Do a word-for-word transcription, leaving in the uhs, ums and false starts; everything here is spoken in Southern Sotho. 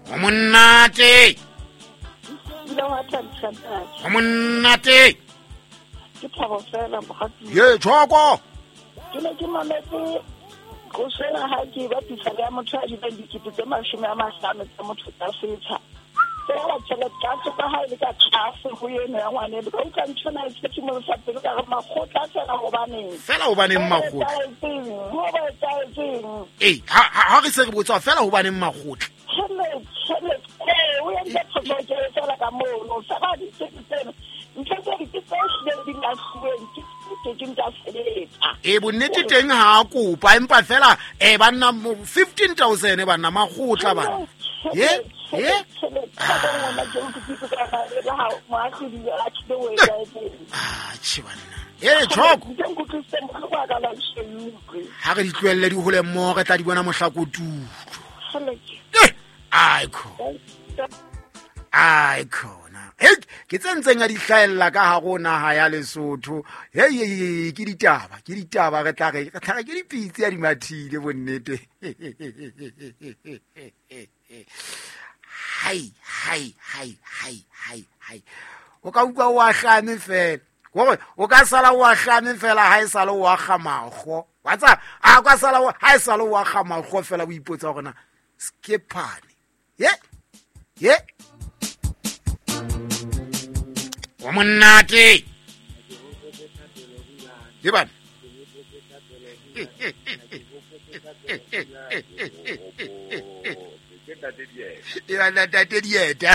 Ho monate. Ho monate. Ke thabo fela mogatsi. Ye tshoko. Ke ne ke mametse go sena ha ke ba pisa ya motho a di dikete tse mashome a mahlano tsa motho tsa setsha. Fela tšhelete ka tsoka ha ile ka tlase ho eno ya ngwane le ka utlwa ntho na e tshetse mo sa pelo ka re makgotla fela hobaneng. Fela hobaneng makgotla. Ho ba etsahetseng. Eh ha ha re se re botsa fela hobaneng makgotla. Tšhelete tšhelete eh o entse phoso ke fela ka mono sa ba di tsena. Ntho tse di tse hlileng di lahluweng ke ke ke ntsa sebetsa. E bonnete teng ha a kopa empa fela eh banna fifteen thousand banna makgotla bana. Ye ye ah che banna. E tshoko. Ha re di tlohelle di hole mmoho re tla di bona mohlakotulo. Eh aiko. Aiko. Hey, ke tsentseng a di hlaella ka ha rona ha ya Lesotho. Hey, ke ditaba, ke ditaba re tla re re tla ke dipitsi ya di mathile bonnete. Hai, hai, hai, hai, hai, hai. O ka utlwa o ahlame fela. Gore o ka sala o ahlame fela ha e sala o akga mago. Wa tsa a ka sala ha e sala o akga mago fela o ipotsa hore na skepane. Ye? Ye? Wa monate. Ke bana. E bana ntate Dieta.